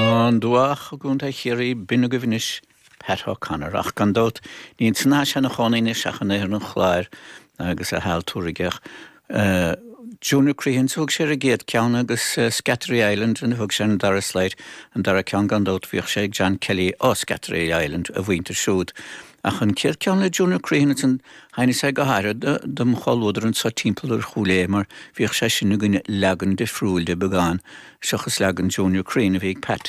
An Dumhach i gContae Chiarraí, b'in agaibh anois Pat O'Connor. Ach gan dabht, ní ansan atá sé ina chónaí anois ach in Oirthear an Chláir agus a sheal tabhartha aige. Junior Crehan a thug sé ar an gcéad ceann agus Scattery Island a thug sé ar an dara slide. An dara ceann gan dabht bhíodh sé ag John Kelly ó Scattery Island, a mhuintir siúd. Ach an chéad ceann le Junior Crehan ansan thaitnigh sé go háirithe dom chomhluadar anso timpeall ar Chúil Aodha mar bhíodh sé sin againne leagan difriúil de beagán seachas leagan Junior Crehan a bhí ag Pat.